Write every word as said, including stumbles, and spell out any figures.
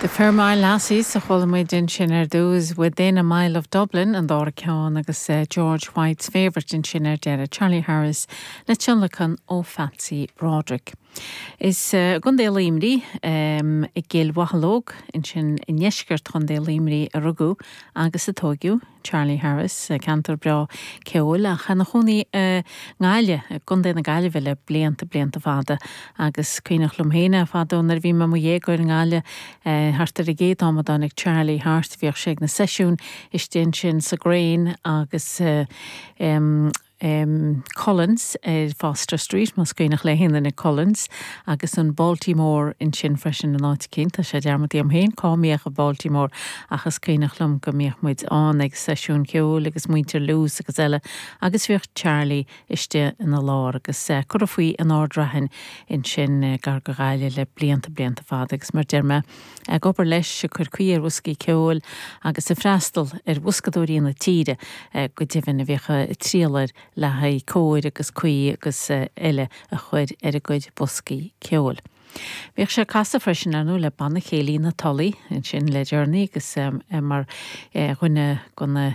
The Fairmile Lassies a chuala muid ansin ar dtús Within a Mile of Dublin an dara ceann agus uh, George White's Favourite ansin ar deireadh Charlie Harris le tionlacan ó Patsy Broderick. Is uh, Contae Luimnigh um, i gCill Mhocheallóg ansin i ndeisceart Chontae Luimnigh a rugadh agus a tógadh Charlie Harris ceantar breá ceoil ach ina chónaí uh, nGaillimh i gContae na Gaillimhe le blianta blianta fada agus cuimhneach liom féin fadó nuair a bhí mé i mo dhéagóir i nGaillimh uh, thart ar an gcéad am a dtáinig Charlie thart bhíodh sé ag na seisiúin istigh ansin sa Grain agus uh, um, um, Collins ar Foster Street más cuimhneach le haon duine Collins agus an Baltimore ansin freisin an áit cinn tá sé dearmadta agam féin cá mbíodh an Baltimore ach is cuimhneach liom go mbíodh muid ann ag seisiún ceoil agus muintir Loose agus eile agus bhíodh Charlie istigh ina lár agus uh, curtha faoi in Ard Raithin ansin uh, gar do Ghaillimh le blianta blianta fada agus mar deir mé ag obair leis ag cur caoi ar bhoscaí ceoil agus ag freastal ar bhoscadóirí na tíre uh, go deimhin a bhíodh triail air le haghaidh cóir agus caoi agus eile a chur ar a gcuid boscaí ceoil. Bhíodh sé ag casadh freisin anú le banna céilí na Tulaí ansin le deireanaí agus um, mar dhuine de na